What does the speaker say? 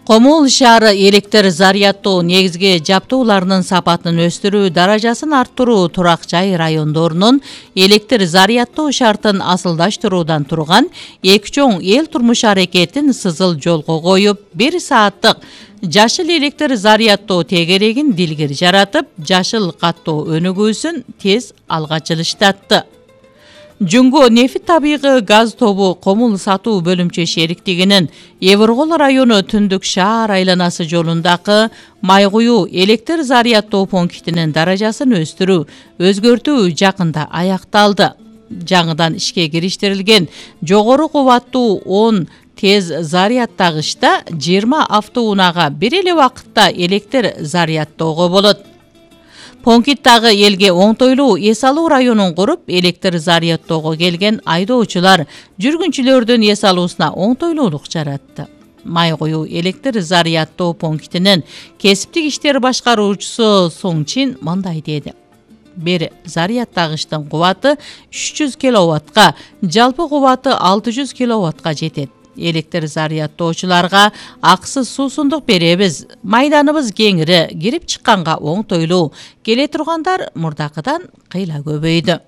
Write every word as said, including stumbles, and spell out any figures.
Комул шаары электр зарядтоо негизги жабдууларынын сапатын өстүрүү, даражасын арттыруу, турак жай райондорунун электр зарядтоо шартын асылдаштыруудан турган эки чоң эл турмуш аракетин сызыл жолго коюп, бир сааттык жашыл электр зарядтоо тегерегин дилгир жаратып, жашыл каттоо өнүгүүсүн тез алга жылыштатты. Жүнгө нефт табигый газ тобу Комул сатуу бөлүмчө шериктигинин Эвергол району Түндүк шаар айланасы жолундагы май куюу электр зарядтоо пунктинин даражасын өстүрүү, өзгөртүү жакында аякталды. Жаңыдан ишке кириштирилген жогору кубаттуу он тез зарядтагычта жыйырма автоунаага бир эле убакытта электр зарядтоого болот. Понкиттагы элге оңтойлуу эс алуу районун куруп, электр зарядтоого келген айдоочулар жүргүнчүлөрдүн эс алуусуна оңтойлуулук жаратты. Май куюу электр зарядтоо пунктинин кесиптик иштер башкаруучусу Соңчин мындай деди. Бир зарядтагычтын кубаты үч жүз киловаттка, жалпы кубаты алты жүз киловаттка жетет. Электр зарядтоочуларга акысыз суусундук беребиз. Майданыбыз кеңири, кирип чыкканга оңтойлуу. Келе тургандар мурдакыдан кыйла көбөйдү.